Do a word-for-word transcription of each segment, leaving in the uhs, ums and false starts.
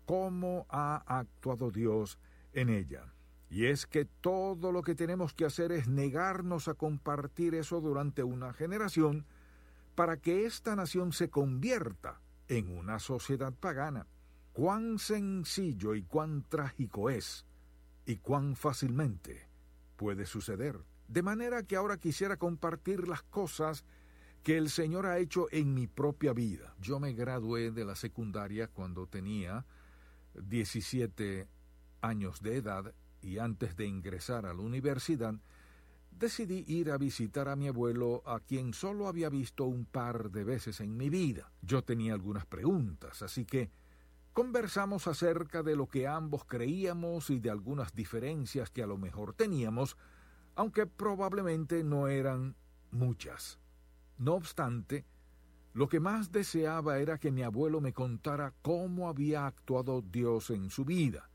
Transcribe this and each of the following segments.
cómo ha actuado Dios en ella. Y es que todo lo que tenemos que hacer es negarnos a compartir eso durante una generación para que esta nación se convierta en una sociedad pagana. Cuán sencillo y cuán trágico es, y cuán fácilmente puede suceder. De manera que ahora quisiera compartir las cosas que el Señor ha hecho en mi propia vida. Yo me gradué de la secundaria cuando tenía diecisiete años de edad y antes de ingresar a la universidad, decidí ir a visitar a mi abuelo, a quien solo había visto un par de veces en mi vida. Yo tenía algunas preguntas, así que conversamos acerca de lo que ambos creíamos y de algunas diferencias que a lo mejor teníamos, aunque probablemente no eran muchas. No obstante, lo que más deseaba era que mi abuelo me contara cómo había actuado Dios en su vida.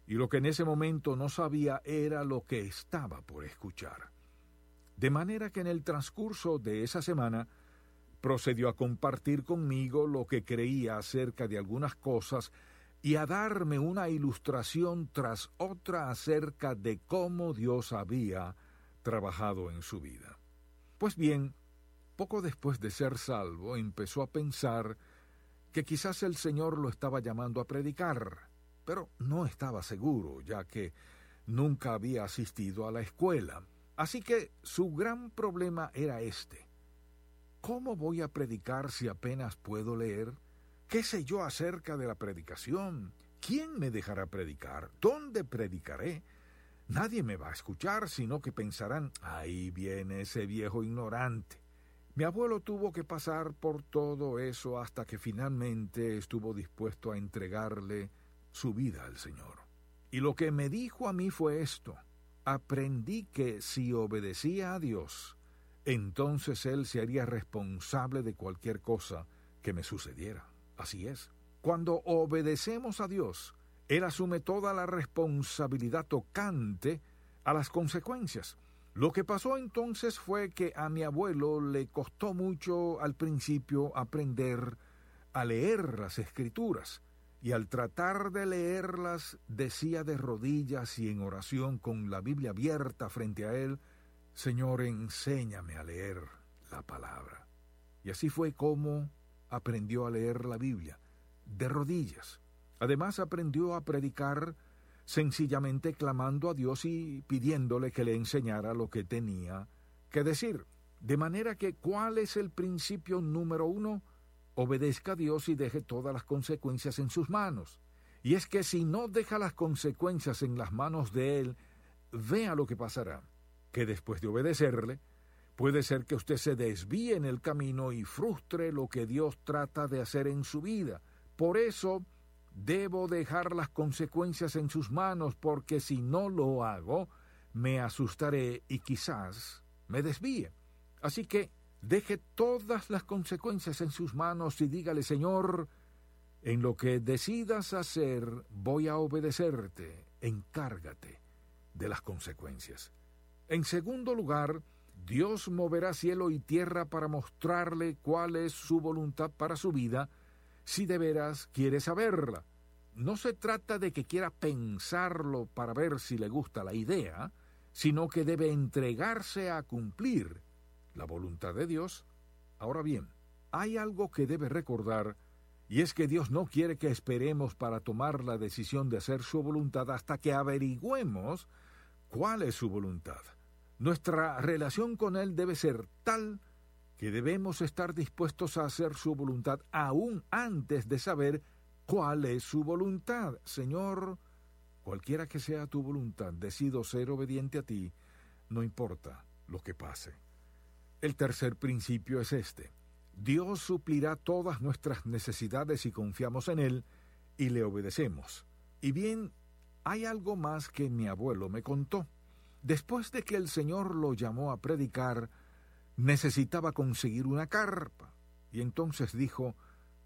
Y lo que en ese momento no sabía era lo que estaba por escuchar. De manera que en el transcurso de esa semana procedió a compartir conmigo lo que creía acerca de algunas cosas y a darme una ilustración tras otra acerca de cómo Dios había trabajado en su vida. Pues bien, poco después de ser salvo, empezó a pensar que quizás el Señor lo estaba llamando a predicar, pero no estaba seguro, ya que nunca había asistido a la escuela. Así que su gran problema era este: ¿cómo voy a predicar si apenas puedo leer? ¿Qué sé yo acerca de la predicación? ¿Quién me dejará predicar? ¿Dónde predicaré? Nadie me va a escuchar, sino que pensarán, ahí viene ese viejo ignorante. Mi abuelo tuvo que pasar por todo eso hasta que finalmente estuvo dispuesto a entregarle su vida al Señor. Y lo que me dijo a mí fue esto: aprendí que si obedecía a Dios, entonces Él se haría responsable de cualquier cosa que me sucediera. Así es. Cuando obedecemos a Dios, Él asume toda la responsabilidad tocante a las consecuencias. Lo que pasó entonces fue que a mi abuelo le costó mucho al principio aprender a leer las Escrituras, y al tratar de leerlas decía de rodillas y en oración con la Biblia abierta frente a él: Señor, enséñame a leer la palabra. Y así fue como aprendió a leer la Biblia, de rodillas. Además aprendió a predicar sencillamente clamando a Dios y pidiéndole que le enseñara lo que tenía que decir. De manera que, ¿cuál es el principio número uno? Obedezca a Dios y deje todas las consecuencias en sus manos. Y es que si no deja las consecuencias en las manos de Él, vea lo que pasará, que después de obedecerle, puede ser que usted se desvíe en el camino y frustre lo que Dios trata de hacer en su vida. Por eso, debo dejar las consecuencias en sus manos, porque si no lo hago, me asustaré y quizás me desvíe. Así que deje todas las consecuencias en sus manos y dígale: Señor, en lo que decidas hacer, voy a obedecerte. Encárgate de las consecuencias. En segundo lugar, Dios moverá cielo y tierra para mostrarle cuál es su voluntad para su vida, si de veras quiere saberla. No se trata de que quiera pensarlo para ver si le gusta la idea, sino que debe entregarse a cumplir la voluntad de Dios. Ahora bien, hay algo que debe recordar, y es que Dios no quiere que esperemos para tomar la decisión de hacer su voluntad hasta que averigüemos cuál es su voluntad. Nuestra relación con Él debe ser tal que debemos estar dispuestos a hacer su voluntad aún antes de saber cuál es su voluntad. Señor, cualquiera que sea tu voluntad, decido ser obediente a ti, no importa lo que pase. El tercer principio es este: Dios suplirá todas nuestras necesidades si confiamos en Él y le obedecemos. Y bien, hay algo más que mi abuelo me contó. Después de que el Señor lo llamó a predicar, necesitaba conseguir una carpa. Y entonces dijo: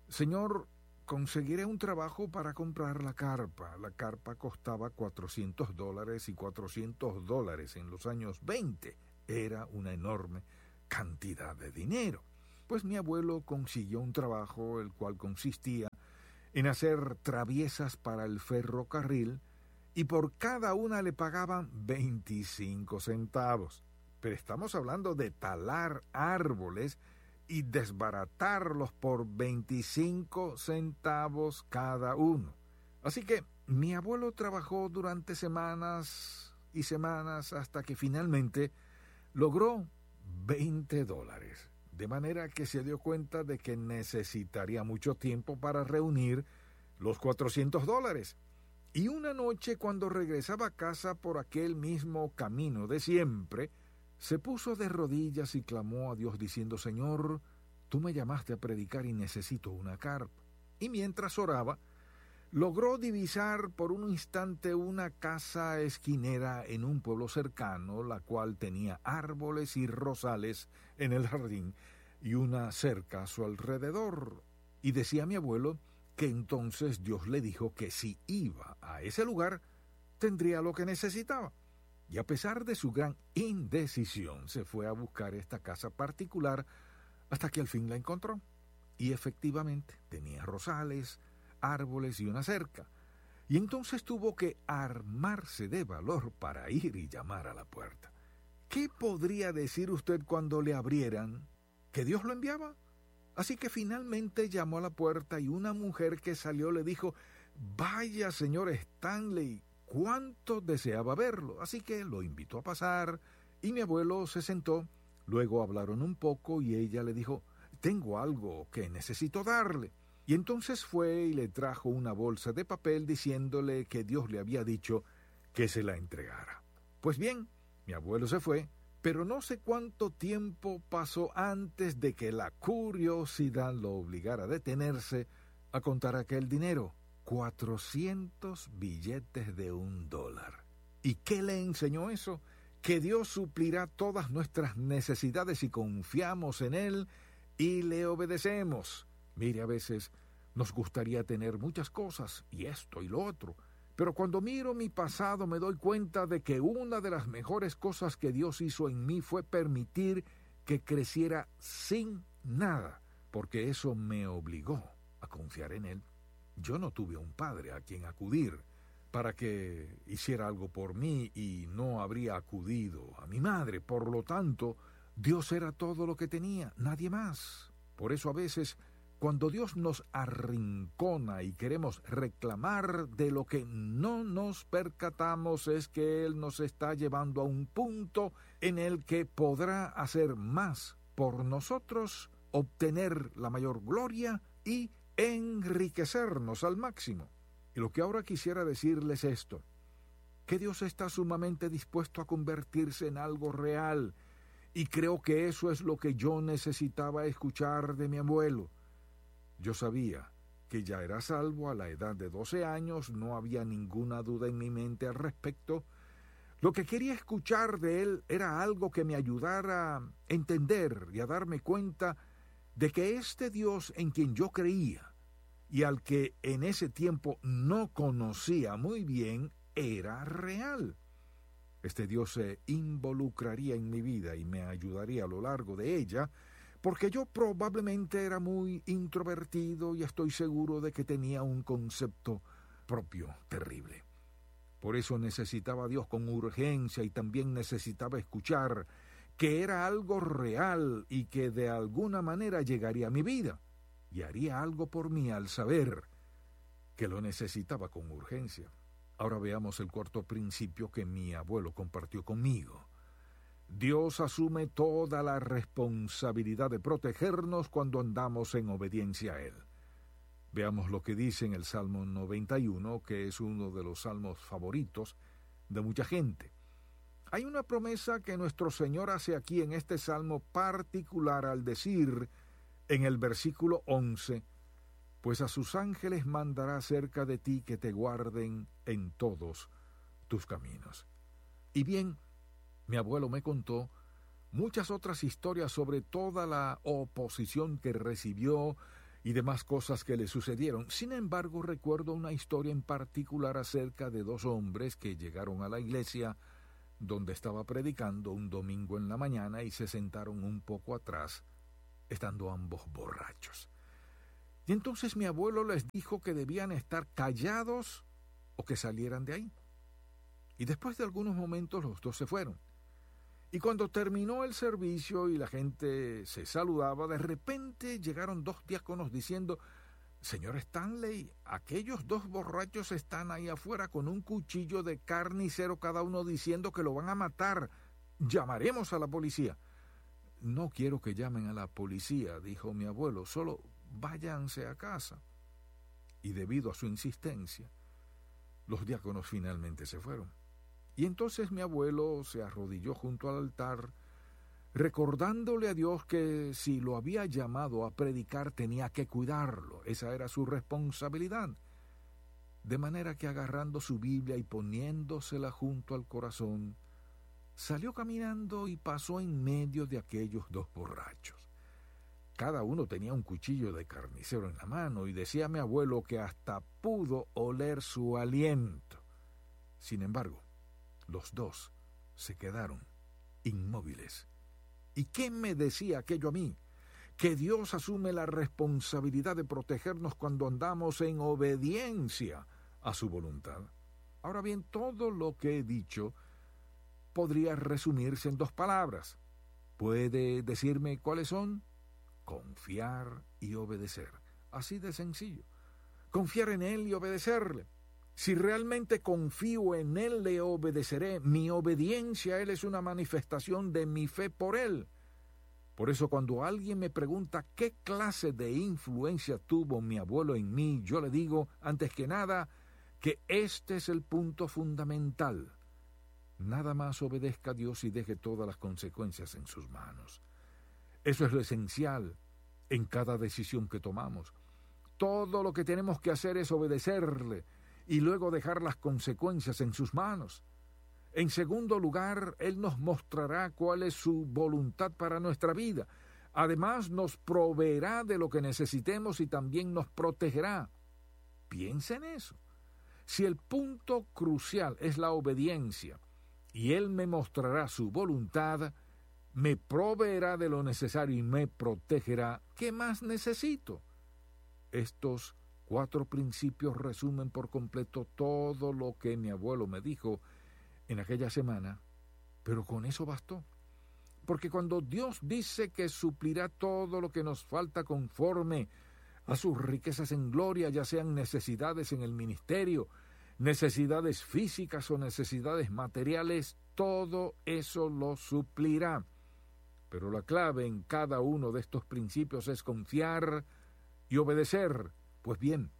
Señor, conseguiré un trabajo para comprar la carpa. La carpa costaba cuatrocientos dólares, y cuatrocientos dólares en los años veinte era una enorme cantidad de dinero. Pues mi abuelo consiguió un trabajo, el cual consistía en hacer traviesas para el ferrocarril y por cada una le pagaban veinticinco centavos. Pero estamos hablando de talar árboles y desbaratarlos por veinticinco centavos cada uno. Así que mi abuelo trabajó durante semanas y semanas hasta que finalmente logró veinte dólares. De manera que se dio cuenta de que necesitaría mucho tiempo para reunir los cuatrocientos dólares. Y una noche, cuando regresaba a casa por aquel mismo camino de siempre, se puso de rodillas y clamó a Dios diciendo: Señor, tú me llamaste a predicar y necesito una carpa. Y mientras oraba, logró divisar por un instante una casa esquinera en un pueblo cercano, la cual tenía árboles y rosales en el jardín y una cerca a su alrededor. Y decía mi abuelo que entonces Dios le dijo que si iba a ese lugar, tendría lo que necesitaba. Y a pesar de su gran indecisión, se fue a buscar esta casa particular hasta que al fin la encontró. Y efectivamente tenía rosales, árboles y una cerca. Y entonces tuvo que armarse de valor para ir y llamar a la puerta. ¿Qué podría decir usted cuando le abrieran? ¿Que Dios lo enviaba? Así que finalmente llamó a la puerta y una mujer que salió le dijo: Vaya, señor Stanley, cuánto deseaba verlo. Así que lo invitó a pasar y mi abuelo se sentó. Luego hablaron un poco y ella le dijo: Tengo algo que necesito darle. Y entonces fue y le trajo una bolsa de papel diciéndole que Dios le había dicho que se la entregara. Pues bien, mi abuelo se fue, pero no sé cuánto tiempo pasó antes de que la curiosidad lo obligara a detenerse a contar aquel dinero. Cuatrocientos billetes de un dólar. ¿Y qué le enseñó eso? Que Dios suplirá todas nuestras necesidades si confiamos en Él y le obedecemos. Mire, a veces nos gustaría tener muchas cosas, y esto y lo otro, pero cuando miro mi pasado me doy cuenta de que una de las mejores cosas que Dios hizo en mí fue permitir que creciera sin nada, porque eso me obligó a confiar en Él. Yo no tuve un padre a quien acudir para que hiciera algo por mí y no habría acudido a mi madre. Por lo tanto, Dios era todo lo que tenía, nadie más. Por eso a veces, cuando Dios nos arrincona y queremos reclamar de lo que no nos percatamos es que Él nos está llevando a un punto en el que podrá hacer más por nosotros, obtener la mayor gloria y enriquecernos al máximo. Y lo que ahora quisiera decirles es esto, que Dios está sumamente dispuesto a convertirse en algo real, y creo que eso es lo que yo necesitaba escuchar de mi abuelo. Yo sabía que ya era salvo a la edad de doce años, no había ninguna duda en mi mente al respecto. Lo que quería escuchar de él era algo que me ayudara a entender y a darme cuenta de que este Dios en quien yo creía y al que en ese tiempo no conocía muy bien, era real. Este Dios se involucraría en mi vida y me ayudaría a lo largo de ella, porque yo probablemente era muy introvertido y estoy seguro de que tenía un concepto propio terrible. Por eso necesitaba a Dios con urgencia y también necesitaba escuchar que era algo real y que de alguna manera llegaría a mi vida y haría algo por mí al saber que lo necesitaba con urgencia. Ahora veamos el cuarto principio que mi abuelo compartió conmigo. Dios asume toda la responsabilidad de protegernos cuando andamos en obediencia a Él. Veamos lo que dice en el Salmo noventa y uno, que es uno de los salmos favoritos de mucha gente. Hay una promesa que nuestro Señor hace aquí en este salmo particular al decir en el versículo once, Pues a sus ángeles mandará cerca de ti que te guarden en todos tus caminos. Y bien, mi abuelo me contó muchas otras historias sobre toda la oposición que recibió y demás cosas que le sucedieron. Sin embargo, recuerdo una historia en particular acerca de dos hombres que llegaron a la iglesia donde estaba predicando un domingo en la mañana y se sentaron un poco atrás, estando ambos borrachos. Y entonces mi abuelo les dijo que debían estar callados o que salieran de ahí. Y después de algunos momentos los dos se fueron. Y cuando terminó el servicio y la gente se saludaba, de repente llegaron dos diáconos diciendo, Señor Stanley, aquellos dos borrachos están ahí afuera con un cuchillo de carnicero cada uno diciendo que lo van a matar. Llamaremos a la policía. No quiero que llamen a la policía, dijo mi abuelo, solo váyanse a casa. Y debido a su insistencia, los diáconos finalmente se fueron. Y entonces mi abuelo se arrodilló junto al altar, recordándole a Dios que si lo había llamado a predicar tenía que cuidarlo, esa era su responsabilidad. De manera que agarrando su Biblia y poniéndosela junto al corazón, salió caminando y pasó en medio de aquellos dos borrachos. Cada uno tenía un cuchillo de carnicero en la mano y decía mi abuelo que hasta pudo oler su aliento. Sin embargo, los dos se quedaron inmóviles. ¿Y qué me decía aquello a mí? Que Dios asume la responsabilidad de protegernos cuando andamos en obediencia a su voluntad. Ahora bien, todo lo que he dicho podría resumirse en dos palabras. ¿Puede decirme cuáles son? Confiar y obedecer. Así de sencillo. Confiar en Él y obedecerle. Si realmente confío en Él, le obedeceré. Mi obediencia a Él es una manifestación de mi fe por Él. Por eso cuando alguien me pregunta qué clase de influencia tuvo mi abuelo en mí, yo le digo, antes que nada, que este es el punto fundamental. Nada más obedezca a Dios y deje todas las consecuencias en sus manos. Eso es lo esencial en cada decisión que tomamos. Todo lo que tenemos que hacer es obedecerle y luego dejar las consecuencias en sus manos. En segundo lugar, Él nos mostrará cuál es su voluntad para nuestra vida. Además, nos proveerá de lo que necesitemos y también nos protegerá. Piensa en eso. Si el punto crucial es la obediencia y Él me mostrará su voluntad, me proveerá de lo necesario y me protegerá, ¿qué más necesito? Estos cuatro principios resumen por completo todo lo que mi abuelo me dijo en aquella semana, pero con eso bastó. Porque cuando Dios dice que suplirá todo lo que nos falta conforme a sus riquezas en gloria, ya sean necesidades en el ministerio, necesidades físicas o necesidades materiales, todo eso lo suplirá. Pero la clave en cada uno de estos principios es confiar y obedecer. Pues bien,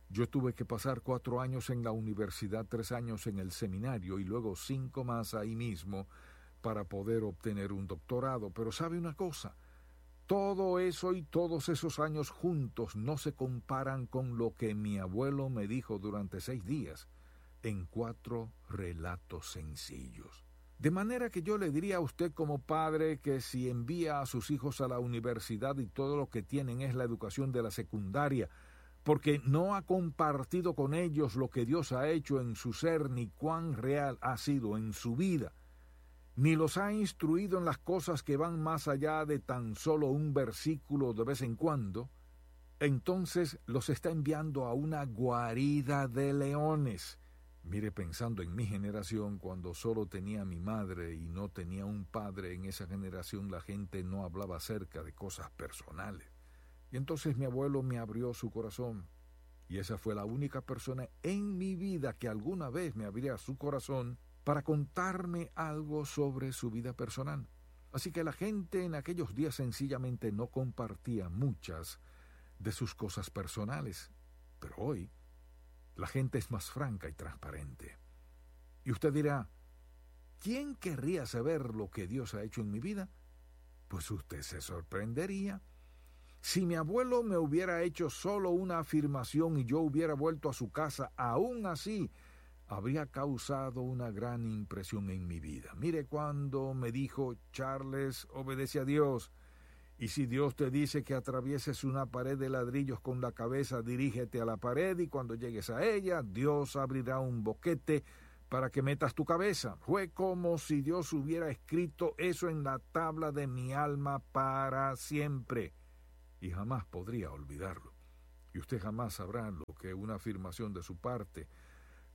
yo tuve que pasar cuatro años en la universidad, tres años en el seminario y luego cinco más ahí mismo para poder obtener un doctorado. Pero ¿sabe una cosa? Todo eso y todos esos años juntos no se comparan con lo que mi abuelo me dijo durante seis días en cuatro relatos sencillos. De manera que yo le diría a usted como padre que si envía a sus hijos a la universidad y todo lo que tienen es la educación de la secundaria, porque no ha compartido con ellos lo que Dios ha hecho en su ser ni cuán real ha sido en su vida, ni los ha instruido en las cosas que van más allá de tan solo un versículo de vez en cuando, entonces los está enviando a una guarida de leones. Mire, pensando en mi generación, cuando solo tenía mi madre y no tenía un padre, en esa generación la gente no hablaba acerca de cosas personales. Y entonces mi abuelo me abrió su corazón, y esa fue la única persona en mi vida que alguna vez me abría su corazón para contarme algo sobre su vida personal. Así que la gente en aquellos días sencillamente no compartía muchas de sus cosas personales. Pero hoy la gente es más franca y transparente. Y usted dirá, ¿quién querría saber lo que Dios ha hecho en mi vida? Pues usted se sorprendería. Si mi abuelo me hubiera hecho solo una afirmación y yo hubiera vuelto a su casa, aún así habría causado una gran impresión en mi vida. Mire cuando me dijo, Charles, obedece a Dios. Y si Dios te dice que atravieses una pared de ladrillos con la cabeza, dirígete a la pared y cuando llegues a ella, Dios abrirá un boquete para que metas tu cabeza. Fue como si Dios hubiera escrito eso en la tabla de mi alma para siempre. Y jamás podría olvidarlo. Y usted jamás sabrá lo que una afirmación de su parte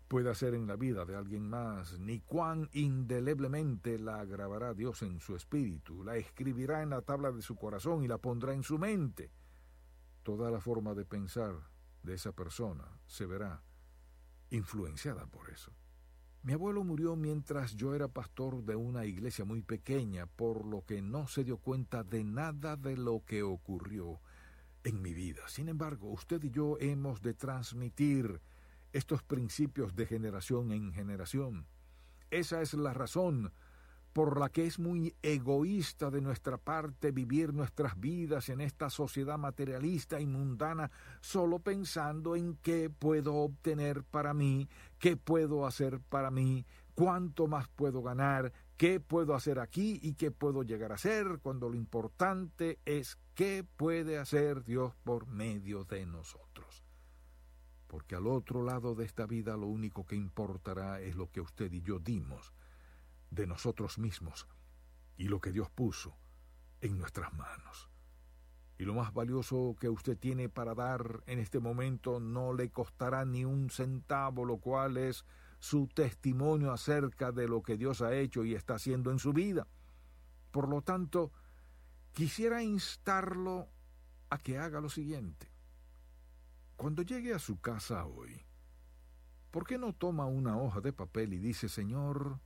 puede hacer en la vida de alguien más, ni cuán indeleblemente la grabará Dios en su espíritu, la escribirá en la tabla de su corazón y la pondrá en su mente. Toda la forma de pensar de esa persona se verá influenciada por eso. Mi abuelo murió mientras yo era pastor de una iglesia muy pequeña, por lo que no se dio cuenta de nada de lo que ocurrió en mi vida. Sin embargo, usted y yo hemos de transmitir estos principios de generación en generación. Esa es la razón por la que es muy egoísta de nuestra parte vivir nuestras vidas en esta sociedad materialista y mundana solo pensando en qué puedo obtener para mí, qué puedo hacer para mí, cuánto más puedo ganar, qué puedo hacer aquí y qué puedo llegar a hacer, cuando lo importante es qué puede hacer Dios por medio de nosotros. Porque al otro lado de esta vida lo único que importará es lo que usted y yo dimos de nosotros mismos y lo que Dios puso en nuestras manos. Y lo más valioso que usted tiene para dar en este momento no le costará ni un centavo, lo cual es su testimonio acerca de lo que Dios ha hecho y está haciendo en su vida. Por lo tanto, quisiera instarlo a que haga lo siguiente. Cuando llegue a su casa hoy, ¿por qué no toma una hoja de papel y dice: Señor,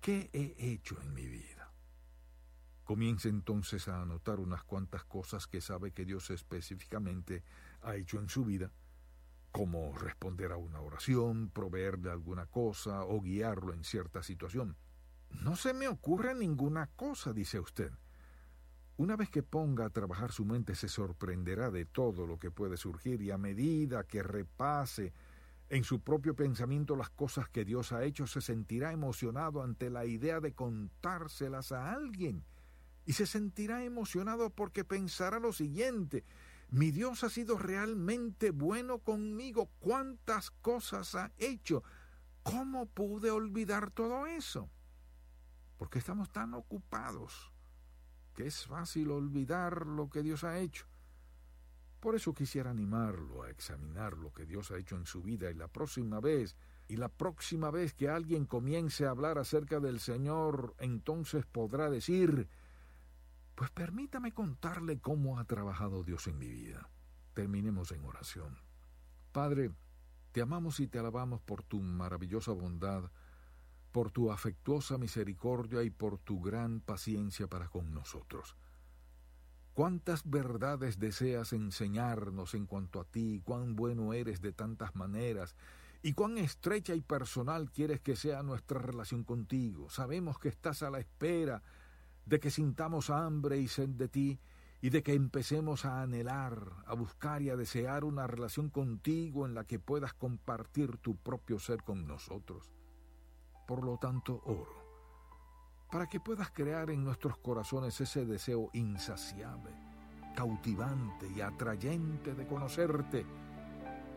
¿qué he hecho en mi vida? Comience entonces a anotar unas cuantas cosas que sabe que Dios específicamente ha hecho en su vida, como responder a una oración, proveerle alguna cosa o guiarlo en cierta situación. No se me ocurre ninguna cosa, dice usted. Una vez que ponga a trabajar su mente, se sorprenderá de todo lo que puede surgir, y a medida que repase en su propio pensamiento las cosas que Dios ha hecho, se sentirá emocionado ante la idea de contárselas a alguien. Y se sentirá emocionado porque pensará lo siguiente: mi Dios ha sido realmente bueno conmigo. ¿Cuántas cosas ha hecho? ¿Cómo pude olvidar todo eso? Porque estamos tan ocupados que es fácil olvidar lo que Dios ha hecho. Por eso quisiera animarlo a examinar lo que Dios ha hecho en su vida, y la próxima vez, y la próxima vez que alguien comience a hablar acerca del Señor, entonces podrá decir: pues permítame contarle cómo ha trabajado Dios en mi vida. Terminemos en oración. Padre, te amamos y te alabamos por tu maravillosa bondad, por tu afectuosa misericordia y por tu gran paciencia para con nosotros. Cuántas verdades deseas enseñarnos en cuanto a ti, cuán bueno eres de tantas maneras, y cuán estrecha y personal quieres que sea nuestra relación contigo. Sabemos que estás a la espera de que sintamos hambre y sed de ti, y de que empecemos a anhelar, a buscar y a desear una relación contigo en la que puedas compartir tu propio ser con nosotros. Por lo tanto, oro para que puedas crear en nuestros corazones ese deseo insaciable, cautivante y atrayente de conocerte,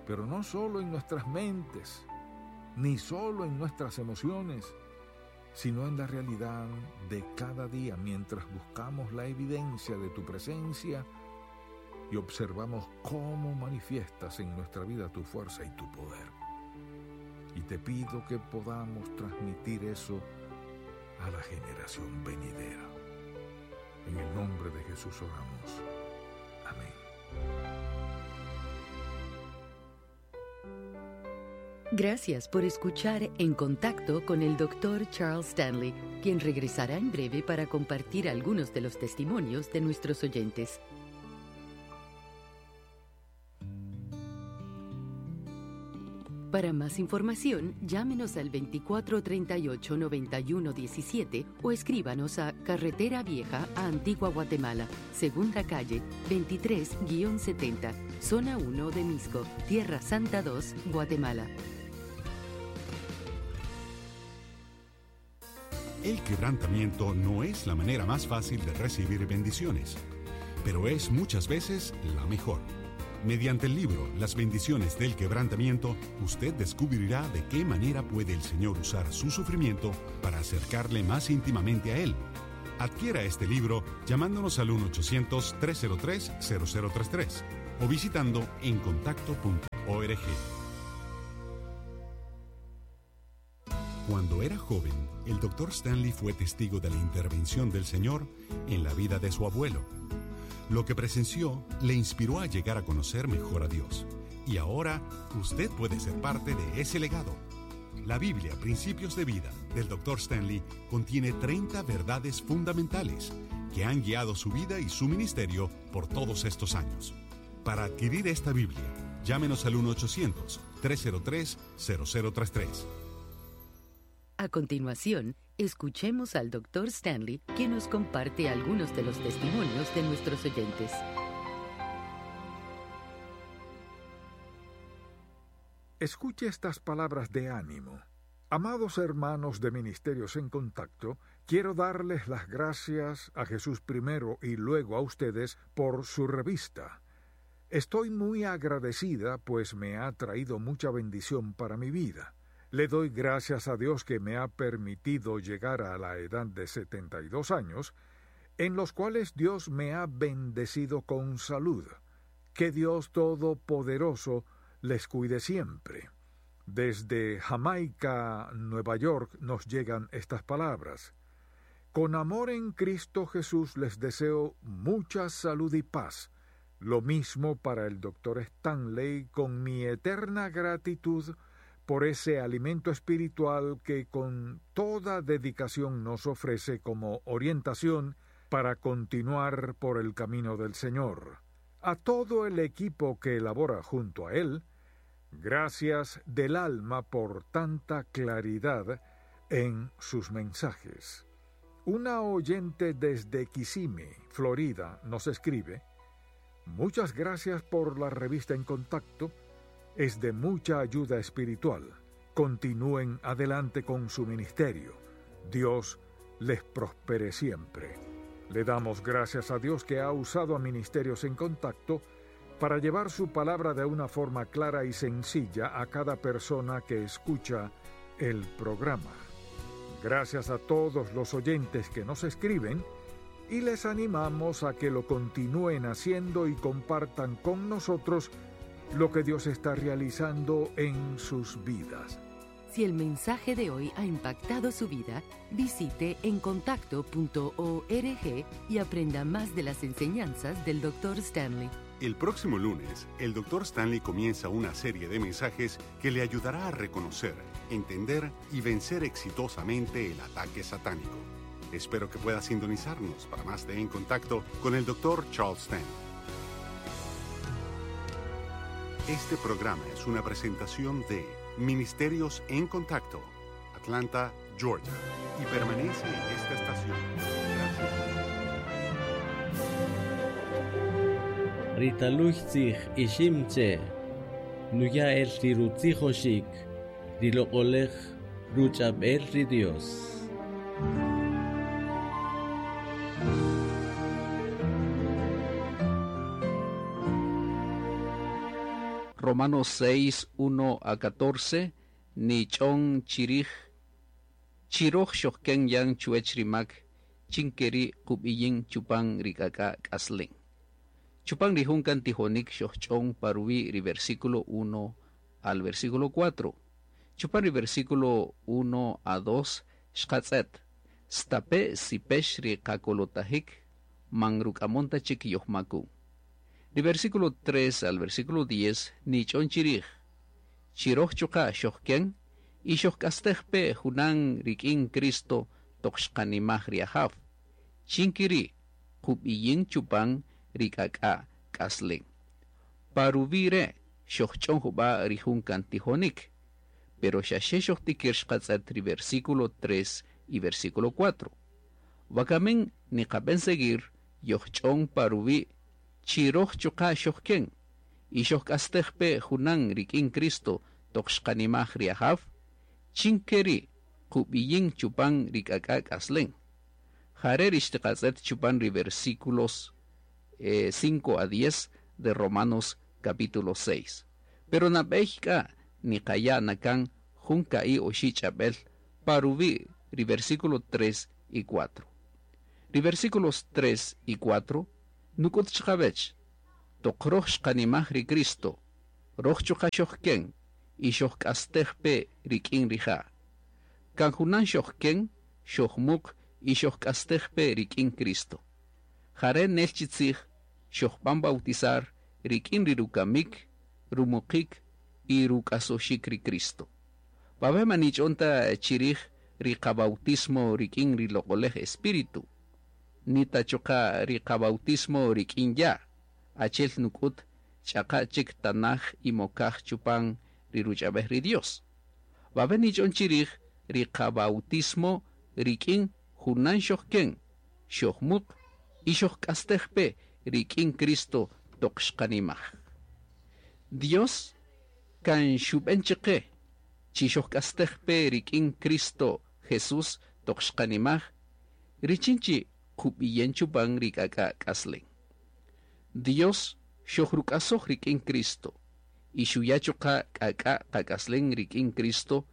pero no solo en nuestras mentes, ni solo en nuestras emociones, sino en la realidad de cada día mientras buscamos la evidencia de tu presencia y observamos cómo manifiestas en nuestra vida tu fuerza y tu poder. Y te pido que podamos transmitir eso a la generación venidera. En el nombre de Jesús oramos. Amén. Gracias por escuchar En Contacto con el doctor Charles Stanley, quien regresará en breve para compartir algunos de los testimonios de nuestros oyentes. Para más información, llámenos al veinticuatro treinta y ocho, noventa y uno diecisiete o escríbanos a Carretera Vieja a Antigua Guatemala, Segunda Calle, veintitrés guion setenta, Zona uno de Mixco, Tierra Santa dos, Guatemala. El quebrantamiento no es la manera más fácil de recibir bendiciones, pero es muchas veces la mejor. Mediante el libro Las bendiciones del quebrantamiento, usted descubrirá de qué manera puede el Señor usar su sufrimiento para acercarle más íntimamente a Él. Adquiera este libro llamándonos al uno ochocientos, tres cero tres, cero cero tres tres o visitando encontacto punto org. Cuando era joven, el doctor Stanley fue testigo de la intervención del Señor en la vida de su abuelo. Lo que presenció le inspiró a llegar a conocer mejor a Dios. Y ahora, usted puede ser parte de ese legado. La Biblia, Principios de Vida, del doctor Stanley, contiene treinta verdades fundamentales que han guiado su vida y su ministerio por todos estos años. Para adquirir esta Biblia, llámenos al uno ochocientos, tres cero tres, cero cero tres tres. A continuación, escuchemos al doctor Stanley, quien nos comparte algunos de los testimonios de nuestros oyentes. Escuche estas palabras de ánimo. Amados hermanos de Ministerios en Contacto, quiero darles las gracias a Jesús primero y luego a ustedes por su revista. Estoy muy agradecida, pues me ha traído mucha bendición para mi vida. Le doy gracias a Dios que me ha permitido llegar a la edad de setenta y dos años, en los cuales Dios me ha bendecido con salud. Que Dios Todopoderoso les cuide siempre. Desde Jamaica, Nueva York, nos llegan estas palabras. Con amor en Cristo Jesús les deseo mucha salud y paz. Lo mismo para el doctor Stanley, con mi eterna gratitud por ese alimento espiritual que con toda dedicación nos ofrece como orientación para continuar por el camino del Señor. A todo el equipo que elabora junto a él, gracias del alma por tanta claridad en sus mensajes. Una oyente desde Kissimmee, Florida, nos escribe: Muchas gracias por la revista En Contacto. Es de mucha ayuda espiritual. Continúen adelante con su ministerio. Dios les prospere siempre. Le damos gracias a Dios que ha usado a Ministerios en Contacto para llevar su palabra de una forma clara y sencilla a cada persona que escucha el programa. Gracias a todos los oyentes que nos escriben y les animamos a que lo continúen haciendo y compartan con nosotros lo que Dios está realizando en sus vidas. Si el mensaje de hoy ha impactado su vida, visite en contacto punto org y aprenda más de las enseñanzas del doctor Stanley. El próximo lunes, el doctor Stanley comienza una serie de mensajes que le ayudará a reconocer, entender y vencer exitosamente el ataque satánico. Espero que pueda sintonizarnos para más de En Contacto con el doctor Charles Stanley. Este programa es una presentación de Ministerios en Contacto, Atlanta, Georgia, y permanece en esta estación. Gracias. Ritaluchtzij iximche, nuya el rirutzijoshik, riloqolej ruchabel ri Dios. Romanos seis, uno a catorce, ni ch'on chirij, chiroj xojken yan chuech rimak, chinkeri kub'iyin chupan rik'ak'a k'aslen. Chupan rijunkan tijonik xojch'on paruwi ri versículo uno al versículo cuatro. Chupan ri versículo uno a dos, xqatz'et, stape sipex ri qakolotajik, manruk'amonta chik yojmakun. Ri versículo tres al versículo diez, ni ch'on chirij, chiroj chuqa xojken, y xojk'astejpe junan rik'in Cristo toq xqanimaj ri ajaw. Chinkiri, kub'iyin chupan rik'ak'a k'aslen. Paruvire xojch'on jub'a rijunkan tijonik, pero xaxe xojtikir xqatz'et ri versículo tres y versículo cuatro. Wakamen niqab'en seguir yojch'on paruwi chiroj chuqa xojken, y xojk'astejpe junan rik'in Cristo toq xqanimaj ri ajaw, chinkeri kub'iyin chupan rik'ak'a k'aslen. Jare rixtiqatz'et chupan ri versículos eh, cinco a diez de Romanos capítulo seis. Pero nab'ey k'a niqaya nakan jun ka'i oxi ch'ab'el paruwi ri versículo tres y cuatro. Ri versículos tres y cuatro nuk'ut chqawech Toq roj xqanimaj ri Cristo, roj chuqa' xojken y xojk'astej pe rik'in rija'. Kan junan xojken, xojmuq y xojk'astej pe rik'in Cristo. Jare' nel chi tzij xojb'an bautizar rik'in ri rukamik, rumuqik y ruk'asoxik ri Cristo. Wawe' man nich'on ta chirij ri qabautismo rik'in ri Loq'olej Espíritu, ni ta chuqa' ri qabautismo rik'in ya', achel nuk'ut ch'aqa' chik tanaj y mokaj chupan ri ruch'ab'ej ri Dios. Wawe' nich'on chirij ri qabautismo rik'in junan xojken, xojmuq y xojk'astej pe rik'in Cristo toq xqanimaj. Dios kan xub'en chiqe chi xojk'astej pe rik'in Cristo Jesús toq xqanimaj, richin chi qub'iyen chupan ri k'ak'a k'aslen. Dios xojruk'asoj rik'in Cristo y xuya' chuqa' k'ak'a qak'aslen rik'in Cristo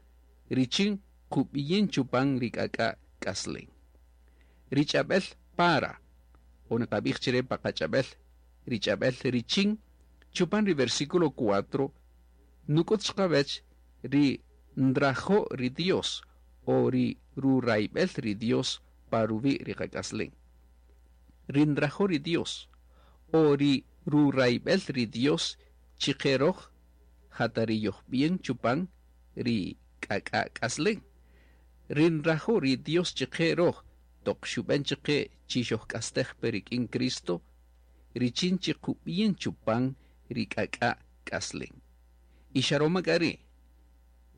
richin qub'iyen chupan ri k'ak'a k'aslen. Ri ch'ab'el para o niqab'ij chire pa qach'ab'el ri ch'ab'el richin chupan ri versículo cuatro nuk'ut xqawech ri nrajo' ri Dios o ri rurayb'el ri Dios pa ruwi' ri qak'aslen. Ri nrajo' ri Dios o ri rurayb'el ri Dios chiqe roj jata ri yojb'ien chupan ri k'ak'a k'aslen. Ri nrajo' ri Dios chiqe roj toq xub'en chiqe chi xojk'astej pe rik'in Cristo richin chi qub'ien chupan ri k'ak'a k'aslen. Y xaroma k'a ri'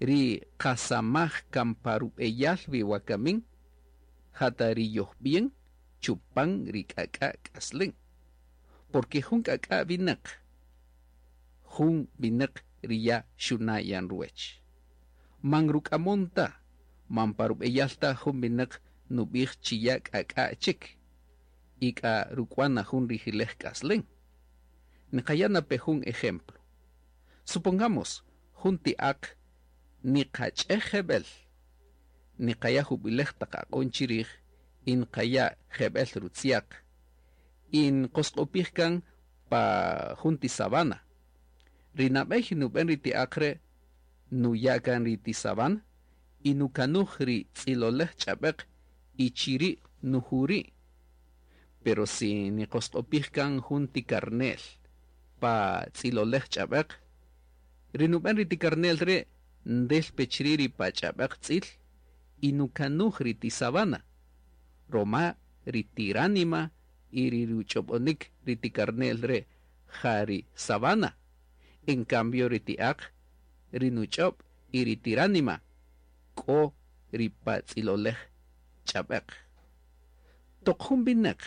ri qasamaj kan pa rub'eyal wi wakamin jata ri yojb'ien chupan ri k'ak'a k'aslen. Porque jun k'ak'a winäq, jun winäq ri ya xuna' yan ruwech. Man ruk'amon ta, man pa rub'eyal ta jun winäq nub'ij chi ya k'ak'a chik y k'a ruk'wan na jun rijilej k'aslen. Niqaya' na pe jun ejemplo. Supongamos jun ti aq niqach'ej jeb'el, niqaya' jub'ilej taq aq'on chirij y niqaya' jeb'el rutziaq y nqosq'opij kan pa jun ti sabana. Ri nab'ey nub'en ri ti aq re' nuya' kan ri ti sabana y nukanuj ri tz'ilolej ch'ab'eq y chiri' nujuri'. Pero si niqosq'opij kan jun ti karne'l pa tz'ilolej ch'ab'eq, ri nub'en ri ti karne'l re' ndel pe chiri' ri pa ch'ab'eq tz'il y nukanuj ri ti sabana. Roma ri tiránima y ri ruch'ob'onik ri ti karne'l re' ja ri sabana. En cambio ri ti aq, ri nuch'ob' y ri tiránima k'o ri pa tz'ilolej ch'ab'eq. Toq jun winäq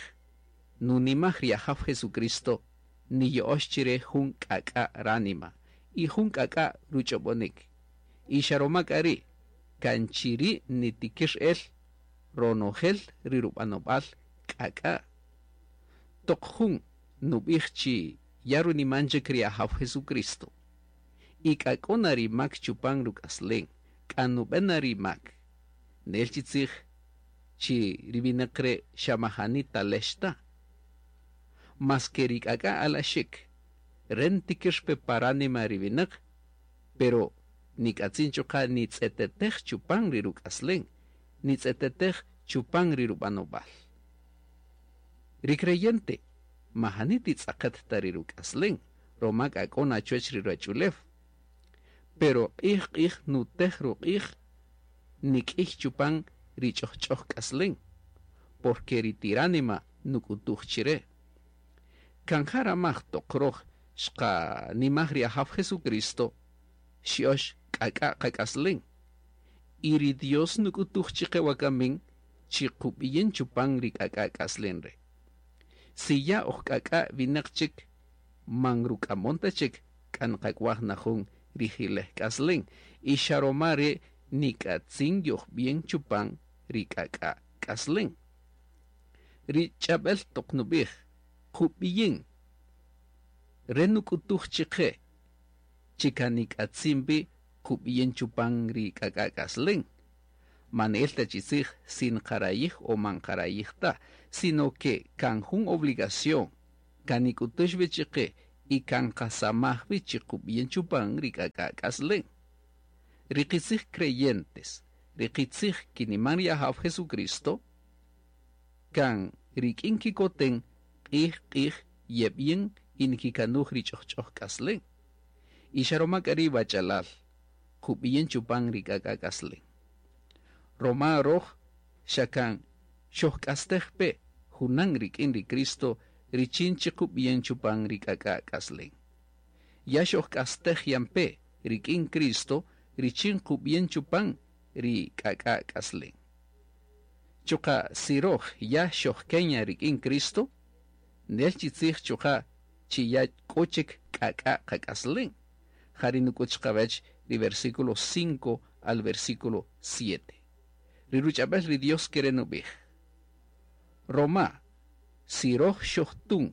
nunimaj ri Ajaw Jesucristo niyo'ox chire jun k'ak'a ránima y jun k'ak'a ruch'ob'onik. Y xaroma k'a ri' kan chiri' nitikir el ronojel ri rub'anob'al k'ak'a. Toq jun nub'ij chi ya runiman chik ri Ajaw Jesucristo y k'a k'o na ri mak chupan ruk'aslen, k'a nub'en na ri mak. Nel chi tzij chi ri winäq re' xa majani talex ta. Mas ke ri k'ak'a alaxik, re ntikir pe paránima ri winäq, pero nik'atzin chuqa' nitz'etetej chupan ri ruk'aslen, nitz'etetej chupan ri rub'anob'al. Ri creyente majani titz'aqet ta ri ruk'aslen, roma k'a k'o na chuwech ri ruwach'ulew. Pero q'ij q'ij nutej ruq'ij nik'ij chupan ri ch'ojch'oj k'aslen, porque ri tiránima nuk'utuj chire. Kan jaramaj toq roj xqanimaj ri Ajaw Jesucristo, xyo'ox k'ak'a qak'aslen. Y ri Dios nuk'utuj chiqe wakamin chi qub'iyen chupan ri k'ak'a k'aslen re'. Si ya oj k'ak'a winäq chik, man ruk'amon ta chik k'a nqak'waj na jun rijilej k'aslen. Y xaroma re' nik'atzin yojb'ien chupan ri k'ak'a k'aslen. Ri ch'ab'el toq nub'ij qub'iyen re nuk'utuj chiqe chi kan nik'atzin wi qub'iyen chupan ri k'ak'a k'aslen. Man el ta chi tzij sin qarayij o man qarayij ta, sino que kan jun obligación kan nik'utux wi chiqe Y kan qasamaj wi chi qub'yen chupan ri k'ak'a k'aslen. Ri qitzij creyentes, ri qitzij kiniman ri Ajaw Jesucristo, kan rik'in kikoten q'ij q'ij yeb'yen y nikikanuj ri ch'ojch'oj k'aslen. Y xa roma k'a ri' wach'alal, qub'yen chupan ri k'ak'a k'aslen. Roma roj xa kan xojk'astej pe junan rik'in ri Cristo richin chi qub'yen chupan ri k'ak'a k'aslen. Ya xojk'astej yan pe rik'in Cristo richin qub'yen chupan ri k'ak'a k'aslen. Chuqa si roj ya xojkenya rik'in Cristo, nel chi tzij chuqa chi ya k'o chik k'ak'a qak'aslen. Jari nuk'ut chiqawech ri versículo cinco al versículo siete. Ri ruch'ab'el ri Dios kere nub'ij. Roma, si roj xojtun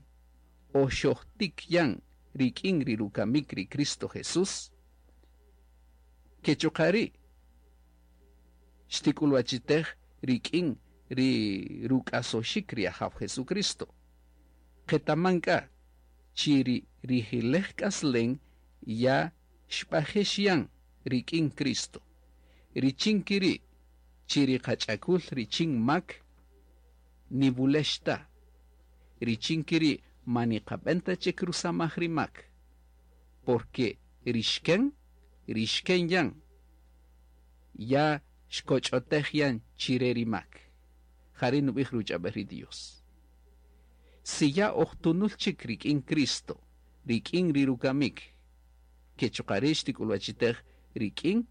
o xojtik yan rik'in ri rukamik ri Cristo Jesús, ke chuqa ri' xtik'ulwachitej rik'in ri ruk'asoxik ri Ajaw Jesucristo. Qetaman k'a chi ri rijilej k'aslen ya xb'ajex yan rik'in Cristo. Richin kiri' chi ri qach'akul richin mak nibulex ta. Richin kiri' maniqab'en ta chik rusamaj ri mak. Porque rixken, rixken yan, ya xkoch'otej yan chire ri mak. Jari nub'ij ruch'ab'el ri Dios. Si ya ojtunul chik rik'in Cristo, rik'in ri rukamik, ke chuqa ri' xtik'ulwachitej rik'in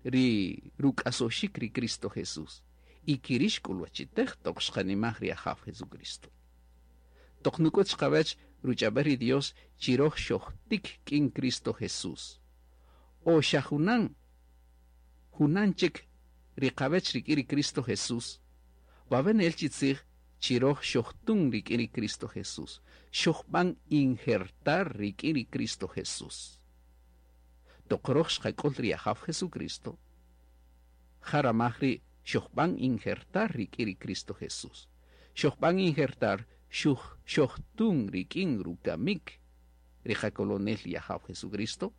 ri ruk'asoxik ri Cristo Jesús. Y kiri' xk'ulwachitej toq xqanimaj ri Ajaw Jesucristo. Toq nuk'ut chiqawech ruch'ab'el ri Dios chi roj xojtik k'in Cristo Jesús. O xa junan, junan chik ri qawech rik'in ri Cristo Jesús, wawe' nel chi tzij chi roj xojtun rik'in ri Cristo Jesús. Xojb'an injertar rik'in ri Cristo Jesús. Toq roj xqak'ul ri Ajaw Jesucristo, jaramaj ri xojb'an injertar rik'in ri Cristo Jesús. Xojb'an injertar xuj xojtun rik'in rukamik ri qakolonel ri Ajaw Jesucristo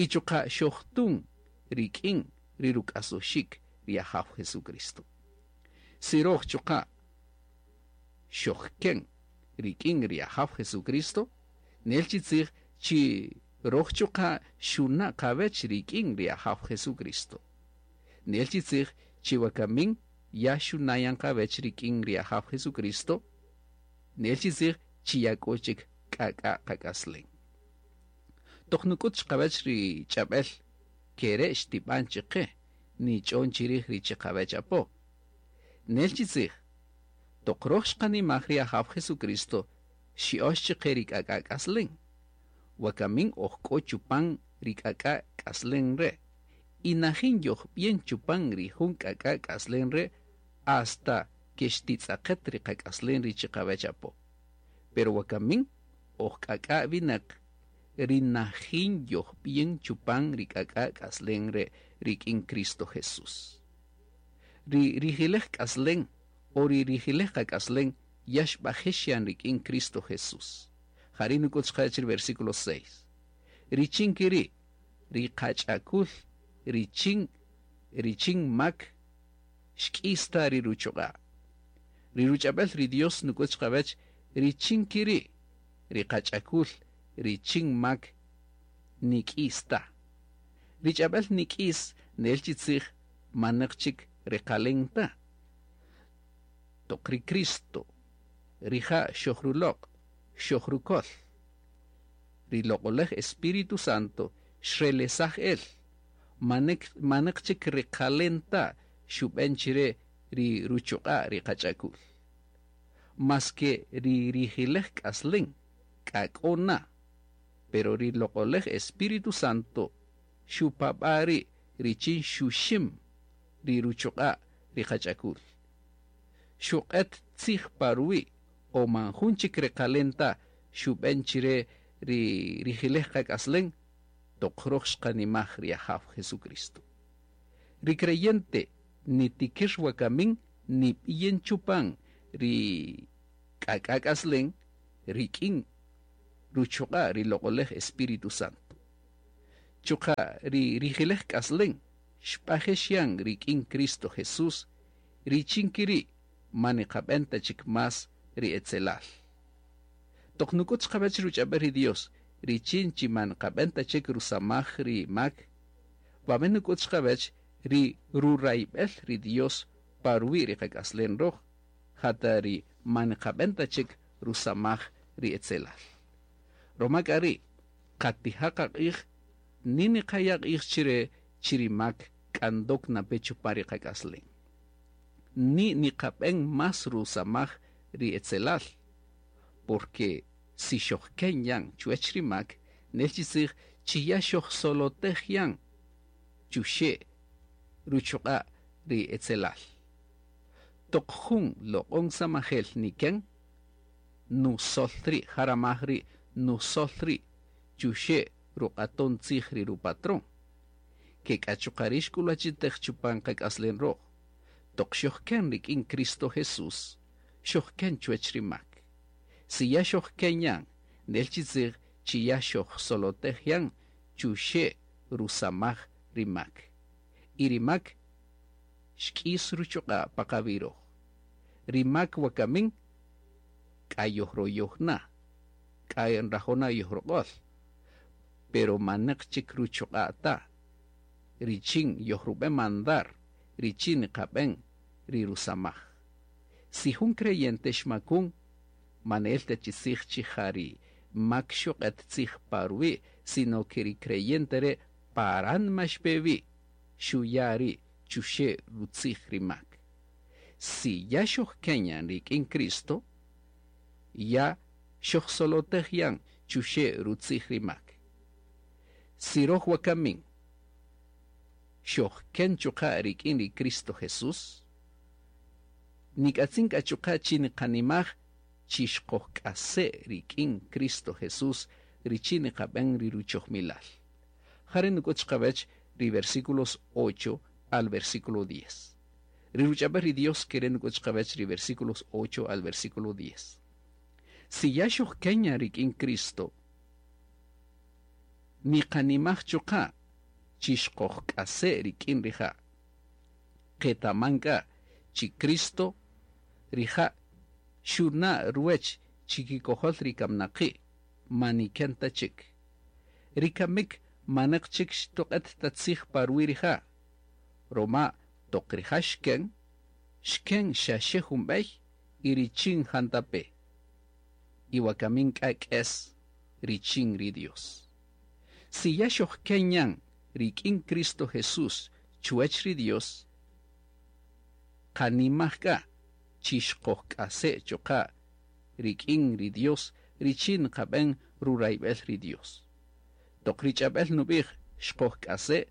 y chuqa xojtun rik'in ri ruk'asoxik ri Ajaw Jesucristo. Si roj chuqa xojken rik'in ri Ajaw Jesucristo, nel chi tzij chi roj chuqa xuna' qawech rik'in ri Ajaw Jesucristo. Nel chi tzij chi wakamin ya xunayan qawech rik'in ri Ajaw Jesucristo, nel chi tzij chi ya k'o chik k'ak'a qak'aslen. Toq nuk'ut chiqawech ri ch'ab'el kere' xtib'an chiqe nich'on chirij ri chiqawech apo. Nel chi tzij toq roj xqanimaj ri Ajaw Jesucristo xi'ox chiqe ri k'ak'a k'aslen. Wakamin oj k'o chupan ri k'ak'a k'aslen re'. Y najin yojb'yen chupan ri jun k'ak'a k'aslen re' hasta ke xtitz'aqet ri qak'aslen ri chiqawech apo. Pero wakamin oj k'ak'a winaq ri najin yojb'yen chupan ri k'ak'a k'aslen re' rik'in Cristo Jesús. Ri rijilej k'aslen o ri rijilej qak'aslen ya xb'ajex yan rik'in Cristo Jesús. Jari' nuk'ut chiqawech ri versículo seis. Richin kiri' ri qach'akul richin richin mak xk'ista ri ruchuq'a'. Ri ruch'ab'el ri Dios nuk'ut chiqawech richin kiri' ri qach'akul richin mak nik'ista. Ri ch'ab'el nik'is nel chi tzij manaq chik reqalen ta. Toq ri Cristo rija' xojruloq' xojrukol. Ri loq'olej Espíritu Santo xrelesaj el manek manaq chik reqalen ta xub'en chire ri ruchuq'a' ri qach'akul. Maske ri rijilej k'aslen k'ak'o na, pero ri loq'olej Espíritu Santo xupab'a ri' richin xuxim ri ruchuq'a' ri qach'akul. Xuq'et tzij parwi' o man jun chik reqalen ta xub'en chire ri rijilej qak'aslen toq roj xqanimaj ri Ajaw Jesucristo. Ri creyente nitikir wakamin nib'yen chupan ri k'ak'a k'aslen rik'in Ruchuqa' ri loq'olej Espíritu Santo. Chuqa' ri rijilej k'aslen xb'ajex yan rik'in Cristo Jesús, richin kiri' ma niqab'en ta chik más ri etzelal. Toq nuk'ut chiqawech ruch'ab'el ri Dios, richin chi man qab'en ta chik rusamaj ri mak, wawe' nuk'ut chiqawech ri rurayb'el ri Dios pa ruwi' ri qak'aslen roj, jata ri man qab'en ta chik rusamaj ri etzelal. Roma k'a ri' qatija' qaq'ij ni niqaya' q'ij chire chi ri mak k'andok nape chupan ri qak'aslen. Ni niqab'en más rusamaj ri etzelal, porque si xojken yan chuwech ri mak, nel chi tzij chi ya xojsolotej yan chuxe' ruchuq'a' ri etzelal. Toq jun loq'on samajel niken, nusol ri' jaramaj ri' nusol ri' chuxe' ruq'aton tzij ri rupatron. Ke k'a chuqa' ri xk'ulwachitej chupan qak'aslen roj. Toq xojken rik'in Cristo Jesús, xojken chuwech ri mak. Si ya xojken yan, nel chi tzij chi ya xojsolotej yan chuxe' rusamaj ri mak. Y ri mak xk'is ruchuq'a' pa qawi' roj. Ri mak wakamin k'a yojroyoj na, k'a nrajo' na yojroq'ol, pero maneq chik ruchuq'a' ta. Richin yojrub'en mandar, richin niqab'en ri rusamaj. Si jun creyente xmakun, manel ta chi tzij chi ja ri mak xuq'et tzij pa ruwi', sino que ri creyente re' paran ma xpe wi', xuya' ri' chuxe' rutzij ri mak. Si ya xojken yan rik'in Cristo, ya xojsolotej yan chuxe' rutzij ri mak. Si roj wakamin xojken chuqa' rik'in ri Cristo Jesús, nik'atzin k'a chuqa' chi niqanimaj chi xqojk'ase' rik'in Cristo Jesús richin niqab'en ri ruchojmilal. Jare' nuk'ut chiqawech ri versículos ocho al versículo diez. Ri ruch'ab'el ri Dios kere' nuk'ut chiqawech ri versículos ocho al versículo diez. Si ya xojken yan rik'in Cristo, niqanimaj chuqa' chi xqojk'ase' rik'in rija'. Qetaman k'a chi Cristo rija' xuna' ruwech chikikojol ri kamnaqi' maniken ta chik. Ri kamik maneq chik xtoq'et ta tzij pa ruwi' rija'. Roma toq rija' xken, xken xaxe jun b'ey y richin jantape. Y wakamin k'a k'es richin ri Dios. Si ya xojken yan rik'in Cristo Jesús chuwech ri Dios, qanimaj k'a chi xqojk'ase' chuqa' rik'in ri Dios richin qab'en rurayb'el ri Dios. Toq ri ch'ab'el nub'ij xqojk'ase',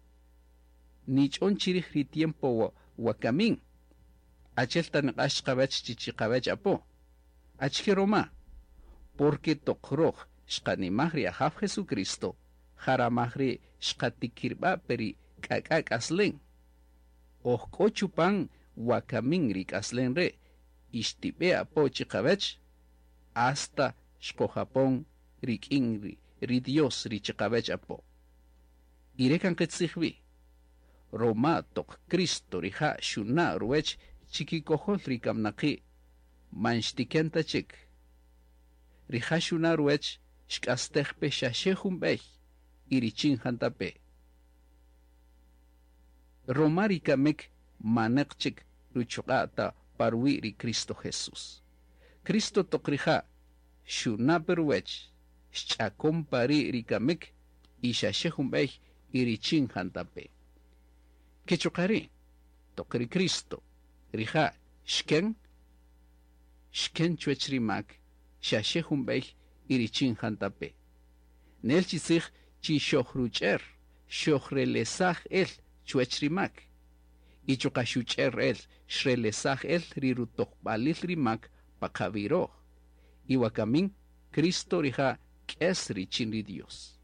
nich'on chirij ri tiempo wakamin, achel ta niq'ax chiqawech chi chiqawech apo. Achike roma? Porque toq roj xqanimaj ri Ajaw Jesucristo, jaramaj ri xqatikirba' peri k'ak'a k'aslen. Oj k'o chupan wakamin ri k'aslen re', ixtib'e apo chiqawech, hasta xqojapon rik'in ri, ri Dios ri chiqawech apo. Ire kan qitzij wi. Roma toq Cristo rija' xuna' ruwech chikikojol ri kamnaqi' man xtiken ta chik. Rija' xuna' ruwech xk'astej pe xaxe jun b'ey y richin jantape. Roma ri kamik maneq chik ruchuq'a' ta pa ruwi' ri Cristo Jesús. Cristo toq rija' xuna' pe ruwech xch'akon pa ri' ri kamik y xaxe jun b'ey y richin jantape. Ke chuqa' ri' toq ri Cristo rija' xken, xken chuwech ri mak xaxe jun b'ey y richin jantape. Nel chi tzij chi xojruch'er, xojrelesaj el chuwech ri mak. Y chuqa' xuch'er el, xrelesaj el ri rutojb'alil ri mak pa qawi' roj. Y wakamin Cristo rija' k'es richin ri Dios.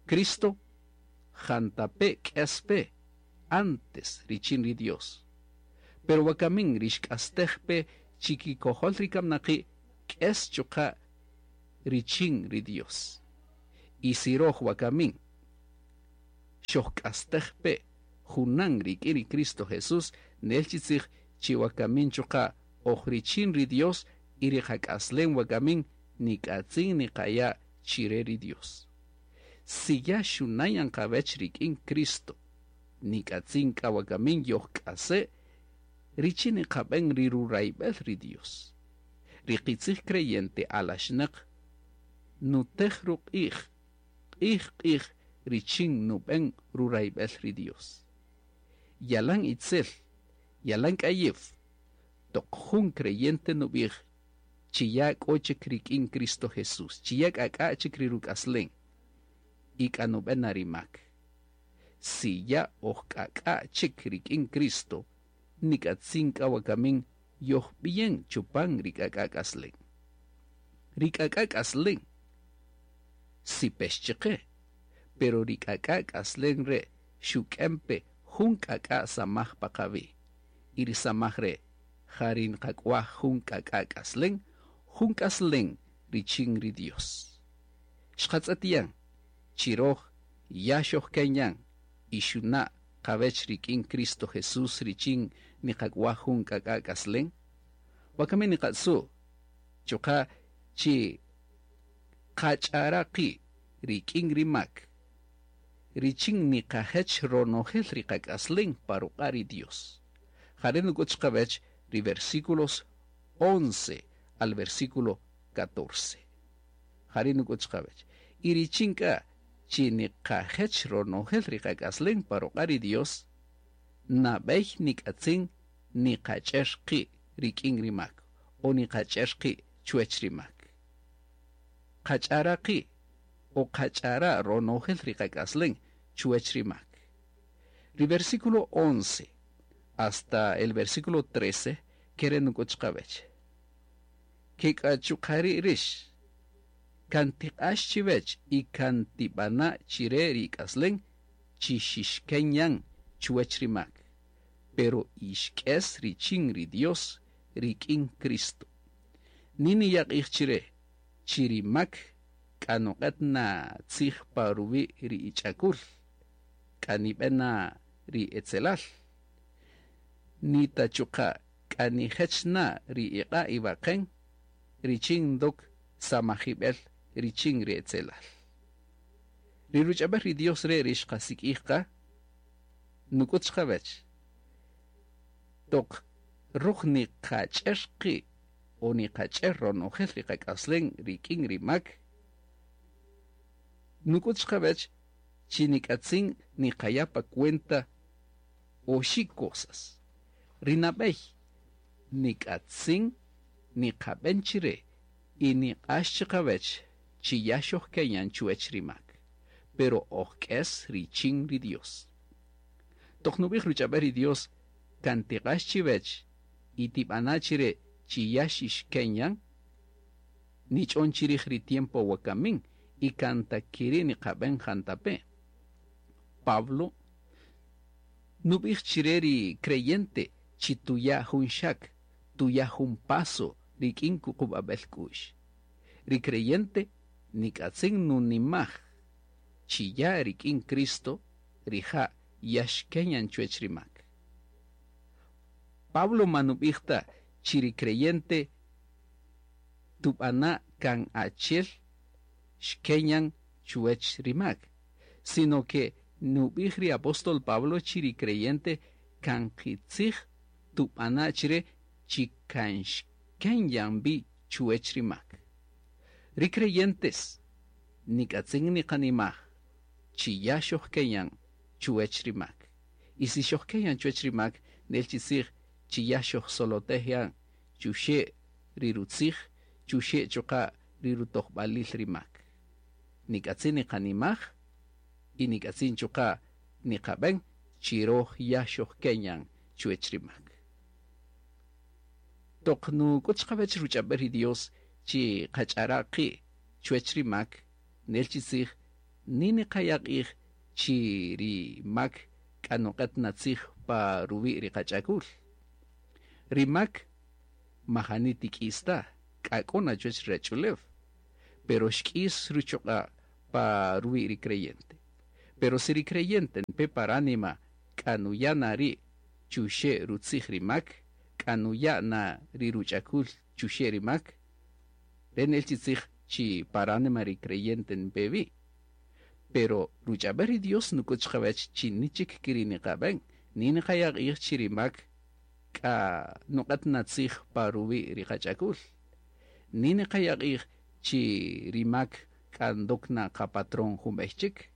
Cristo jantape k'es pe antes richin ri Dios. Pero wakamin ri xk'astej pe chikikojol ri kamnaqi' k'es chuqa' richin ri Dios. Y si roj wakamin xojk'astej pe junan rik'in ri Cristo Jesús, nel chi tzij chi wakamin chuqa' oj richin ri Dios y ri qak'aslem wakamin nik'atzin niqaya' chire ri Dios. Si ya xunayan qawech rik'in Cristo, nik'atzin k'a wakamin yojk'ase' richin niqab'en ri rurayb'el ri Dios. Ri qitzij creyente alaxnaq nutej ruq'ij, q'ij q'ij richin nub'en rurayb'el ri Dios. Yalan itzel, yalan k'ayew, toq jun creyente nub'ij chi ya k'o chik rik'in Cristo Jesús, chi ya k'ak'a chik ri ruk'aslen, y k'a nub'en na ri mak. Si ya oj k'ak'a chik rik'in Cristo, nik'atzin k'a wakamin yojb'iyen chupan ri k'ak'a k'aslen. Ri k'ak'a k'aslen sipex chiqe, pero ri k'ak'a k'aslen re' xuk'en pe jun k'ak'a samaj pa qawi'. Y ri samaj re' ja ri nqak'waj jun k'ak'a k'aslen, jun k'aslen richin ri Dios. Xqatz'et yan, chi roj ya xojken yan y xuna' qawech rik'in Cristo Jesús richin niqak'waj jun k'ak'a k'aslen. Wakamin niqatzu' chuqa' chi qach'ara qi' rik'in ri mak, richin niqajech ronojel ri qak'aslen pa ruq'a' ri Dios. Jare' nuk'ut chiqawech ri versículos once al versículo catorce. Jare' nuk'ut chiqawech. Y richin k'a chi niqajech ronojel ri qak'aslen pa ruq'a' ri Dios, nab'ey nik'atzin niqach'er qi' rik'in ri mak o niqach'er qi' chuwech ri mak. Qach'ara qi' o qach'ara ronojel ri qak'aslen chuwech ri mak. Ri versículo once hasta el versículo trece kere nuk'ut chiqawech. Ke k'a chuqa' rix kan tiq'ax chiwech y kan tib'ana' chire ri k'aslen chi xixken yan chuwech ri mak, pero ixk'es richin ri Dios rik'in Cristo. Nini yaq'ij chire chi ri mak k'a nuq'et na tzij pa ruwi' ri ich'akul, k'a nib'en na ri etzelal. Nita chuqa' k'a nijech na ri iq'a' iwaqen richin ndok samajib'el richin ri etzelal. Ri ruch'ab'el ri Dios re' ri xqasik'ij qa, nuk'ut chiqawech. Toq roj niqach'er qi' o niqach'er ronojel ri qak'aslen rik'in ri mak, nuk'ut chiqawech chi nik'atzin niqaya' pa cuenta oxi' cosas. Ri nab'ey nik'atzin niqab'en chire y niq'ax chiqawech chi ya xojken yan chuwech ri mak, pero ojk'es richin ri Dios. Toq nub'ij ruch'ab'el ri Dios kan tiq'ax chiwech y tib'ana' chire chi ya xixken yan, nich'on chirij ri tiempo wakamin y kan ta kiri' niqab'en jantape'. Pablo nub'ij chire ri creyente chi tuya' jun xak, tuya' jun paso rik'in kuqub'ab'el k'u'x. Ri creyente nik'atzin nunimaj chi ya rik'in Cristo rija' ya xken yan chuwech ri mak. Pablo manub'ij ta chi ri creyente tub'ana' kan achel xken yan chuwech ri mak, sino que nub'ij ri apóstol Pablo chi ri creyente kan qitzij tub'ana' chire chi kan xken yan bi chuwech ri mak. Ri creyentes nik'atzin niqanimaj chi ya xojken yan chuwech ri mak. Y si xojken yan chuwech ri mak, nel chi tzij chi ya xojsolotej yan chuxe' ri rutzij, chuxe' chuqa' ri rutojb'alil ri mak. Nik'atzin niqanimaj y nik'atzin chuqa' niqab'en chi roj ya xojken yan chuwech ri mak. Toq nuk'ut chiqawech ruch'ab'el ri Dios chi qach'ara' qi' chuwech ri mak, nel chi tzij ni niqaya' q'ij chi ri mak k'a nuq'et na tzij pa ruwi' ri qach'akul. Ri mak majani tik'is ta, k'a k'o na chuwech ri rach'ulew, Pero xk'is ruchuq'a' pa ruwi' ri creyente. Pero si ri creyente npe paránima k'a nuya' na ri' chuxe' rutzij ri mak, k'a nuya' na ri ruch'akul chuxe' ri mak, re nel chi tzij chi paránima ri creyente npe wi. Pero ruch'ab'el ri Dios nuk'ut chiqawech chi nichik kiri niqab'en, ni niqaya' q'ij chi ri mak k'a nuq'at na tzij pa ruwi' ri qach'akul. Ni niqaya' q'ij chi ri mak k'a ndok na qapatrón jun b'ey chik.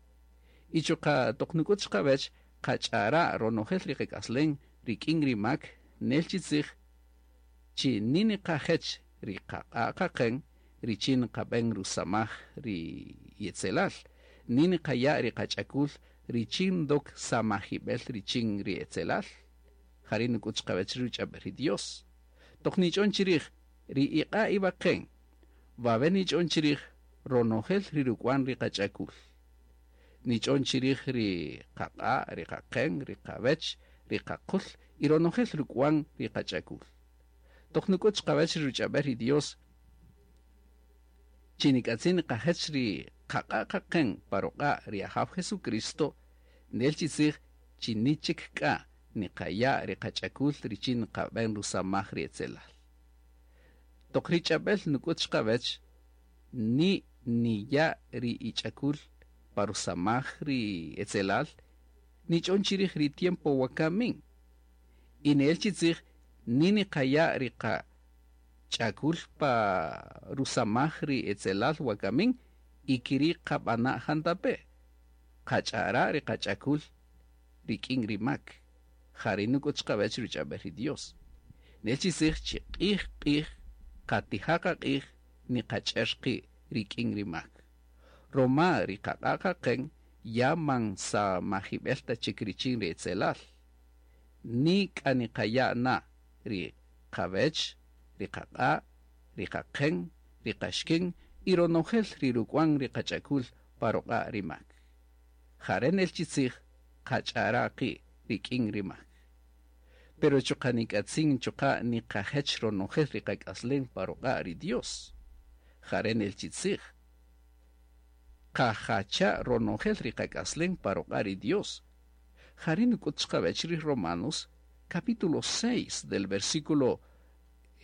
Y chuqa' toq nuk'ut chiqawech qach'ara' ronojel ri qak'aslen rik'in ri mak nel chi tzij chi ni niqajech ri qaq'a' qaqen richin qab'en rusamaj ri yetzelal. Ni niqaya' ri qach'akul richin ndok samajib'el richin ri etzelal. Jari' nuk'ut chiqawech ri ruch'ab'el ri Dios. Toq nich'on chirij ri iq'a' iwaqen, wawe nich'on chirij ronojel ri ruk'wan ri qach'akul. Nich'on chirij ri qaq'a', ri qaqen, ri qawech, ri qaqul y ronojel ruk'wan ri qach'akul. Toq nuk'ut chiqawech ri ruch'ab'el ri Dios, chi nik'atzin niqajech ri qaq'a' qaqen pa ruq'a' ri Ajaw Jesucristo, nel chi tzij chi nichik k'a niqaya' ri qach'akul richin qab'en rusamaj ri etzelal. Toq ri ch'ab'el nuk'ut chiqawech, ni niya' ri ich'akul pa rusamaj ri etzelal, nich'on chirij ri tiempo wakamin. Y nel chi tzij ni niqaya' ri qach'akul pa rusamaj ri etzelal wakamin y kiri qab'ana' jantape'. Qach'ara' ri qach'akul rik'in ri mak. Jari nuk'ut chiqawech ruch'ab'el ri Dios. Nel chi tzij chi q'ij q'ij qatija' qaq'ij niqach'er qi' rik'in ri mak. Roma ri qaq'a' qaqen ya man samajib'el ta chik richin ri etzelal. Ni k'a niqaya' na ri qawech, ri qaq'a', ri qaqen, ri qaxkin y ronojel ri ruk'wan ri qach'akul pa ruq'a' ri mak. Jare nel chi tzij qach'ara' qi' rik'in ri mak. Pero chuqa' nik'atzin chuqa' niqajech ronojel ri qak'aslen pa ruq'a' ri Dios. Jare nel chi tzij qajacha' ronojel ri qak'aslen pa ruq'a' ri Dios. Jare nuk'ut chiqawech ri Romanos capítulo seis del versículo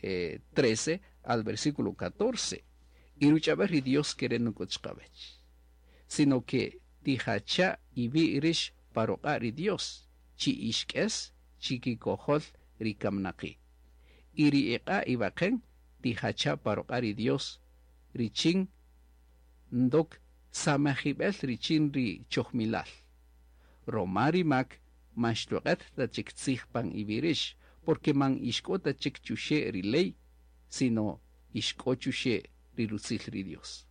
eh, trece al versículo catorce. Y ruch'ab'el ri Dios kere nuk'ut chiqawech. Sino que tijacha' iwi' rix pa ruq'a' ri Dios, chi ixk'es chi kikojol ri kamnaqi'. Y ri iq'a' iwaqen tijacha' pa ruq'a' ri Dios, richin ndok samajib'el richin ri chojmilal. Roma ri mak man xtuq'et ta chik tzij pan iwirix, porque man ixk'o ta chik chuxe' ri ley, sino ixk'o chuxe' ri rutzil ri Dios.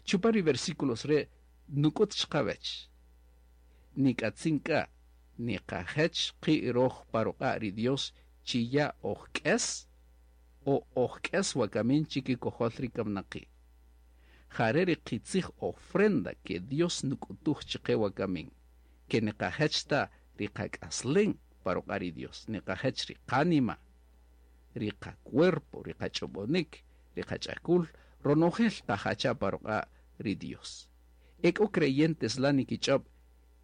Chupan ri versículos re' nuk'ut chiqawech. Nik'atzin k'a niqajech qi' roj pa ruq'a' ri Dios chi ya ojk'es o ojk'es wakamin chi kikojol ri kamnaqi'. Jare ri qitzij ofrenda que Dios nuk'utuj chiqe wakamin, que niqajech ta ri qak'aslen pa ruq'a' ri Dios, niqajech ri qánima, ri qacuerpo, ri qach'ob'onik, ri qach'akul, ronojel qajacha pa ruq'a' ri Dios. Ek'o creyentes la nikich'ob'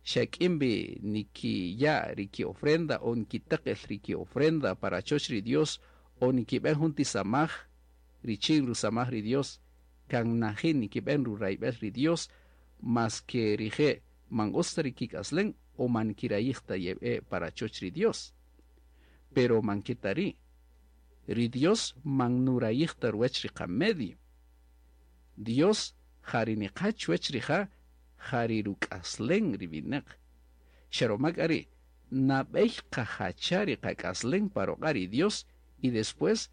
xak'imbi nikiya' ri ki ofrenda o nikitaqel ri ki ofrenda para choch ri Dios o nikib'en jun tisamaj richin rusamaj ri Dios, kan najin nikib'en rurayb'el ri Dios, mas que rije' man utz ta ri kik'aslen o man kirayij ta yeb'e para choch ri Dios. Pero man ketari, ri Dios man nurayij ta ruwech ri qamedio. Dios jari niqa chuwech rija' jari ruk'aslen ri winaq. Xaromak ari, nab'ey qajacha ri qak'aslen pa ruq'a' ri Dios y después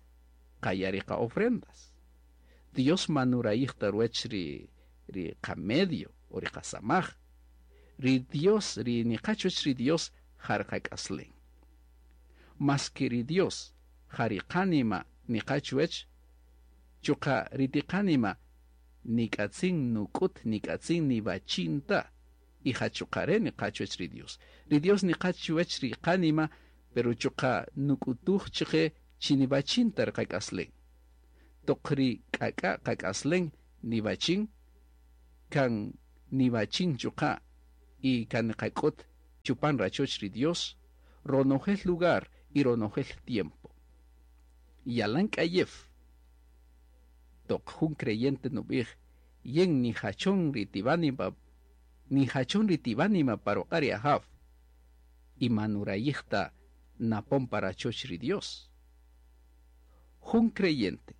qaya' ri qa-ofrendas. Dios man nurayij ta ruwech ri, ri qamedio o ri qasamaj. Ri Dios, ri niqa chuwech ri Dios, jar qak'aslen. Mas que ri Dios, jari qánima niqa chuwech, chuqa ri tiqánima nik'atzin nuk'ut, nik'atzin niwachin ta, y jachuqare niqa chuwech ri Dios. Ri Dios niqa chuwech ri qánima, pero chuqa nuk'utuj chiqe chi niwachin ta ri qak'aslen. Toq ri k'ak'a' qak'aslen niwachin kan niwachin chuqa' y kan niqak'ut chupan rachoch ri Dios ronojel lugar y ronojel tiempo. Yalan k'ayew toq jun creyente nub'ij yen nijachon ri tiwanima nijachon ri tiwanima pa ruq'a' ri Ajaw y man nurayij ta napon pa rachoch ri Dios. Jun creyente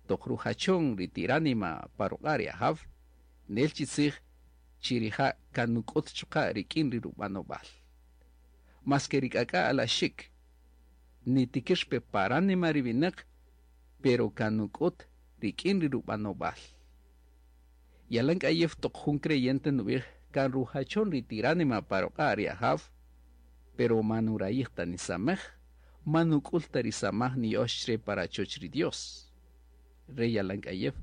toq rujachon ri tiranima pa ruq'a' ri Ajaw nel chi tzij chi rija' kan nuk'ut chuqa' rik'in ri rub'anob'al. Maske ri k'ak'a' alaxik nitikir pe paranima ri winäq pero kan nuk'ut rik'in ri rub'anob'al. Yalan k'ayew toq jun creyente nub'ij kan rujachon ri tiranima pa ruq'a' ri Ajaw pero man nurayij ta nisamej man nuk'ul ta ri samaj niya'ox chre pa rachoch ri Dios. Re yalan k'ayew.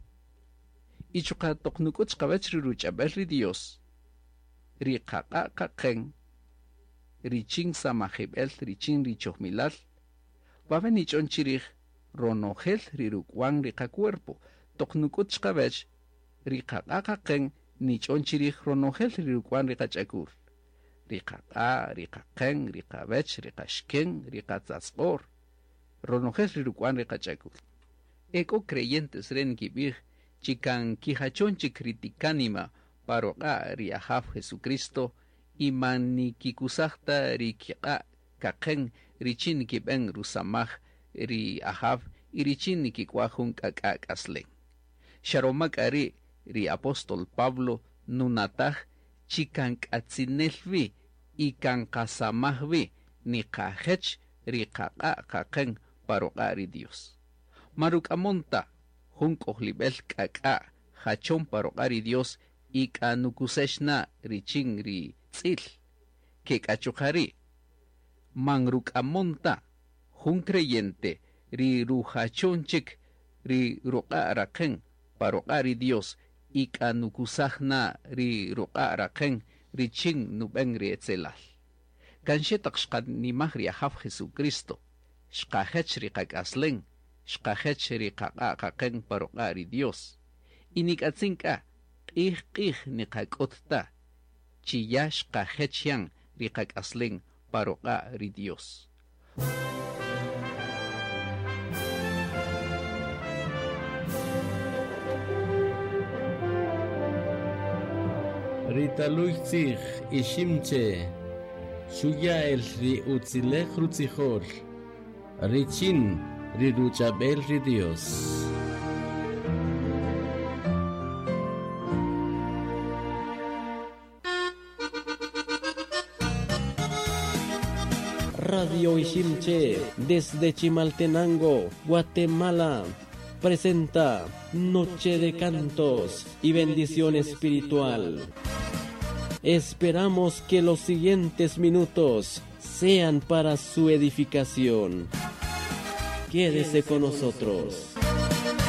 Y chuqa' toq nuk'ut chiqawach ri ruch'ab'al ri Dios ri qaq'a' qaqen richin samajib'el richin ri chojmilal wawe nich'on chirij ronojel ri ruk'wan ri qacuerpo toq nuk'ut chiqawach ri qaq'a' qaqen nich'on chirij ronojel ri ruk'wan ri qach'akul ri qaq'a' ri qaqen ri qawech ri qaxken ri qatzatzq'or ronojel ri ruk'wan ri qach'akul. Ek'o creyentes re nkib'ij chi kan kijachon chik ri tikanima pa ruq'a' ri Ajaw Jesucristo y man nikikusaj ta ri kiq'a' kaqen richin nikib'en rusamaj ri Ajaw y richin nikik'waj jun k'ak'a' k'aslen. Xa roma k'a ri' ri apóstol Pablo nunataj chi kan k'atzinel wi y kan qasamaj wi niqajech ri qaq'a' qaqen pa ruq'a' ri Dios. Man ruk'amon ta jun k'ojlib'el k'ak'a' jachon pa ruq'a' ri Dios y k'a nukusex na richin ri tz'il ke k'a chuqa' ri' man ruk'amon ta jun creyente ri rujachon chik ri ruq'a' raqen pa ruq'a' ri Dios y k'a nukusaj na ri ruq'a' raqen richin nub'en ri etzelal. Kan xe taq xqanimaj ri Ajaw Jesucristo xqajech ri qak'aslen xqajech ri qaq'a' qaqen pa ruq'a' ri Dios y nik'atzin k'a q'ij q'ij niqak'ut ta chi ya xqajech yan ri qak'aslen pa ruq'a' ri Dios. Ritaluy tzij iximche xuya el ri utzilej rutzijol richin ri ruchab'el ri Dios. Radio Iximche desde Chimaltenango, Guatemala, presenta Noche de Cantos y Bendición Espiritual. Esperamos que los siguientes minutos sean para su edificación. Quédese con nosotros.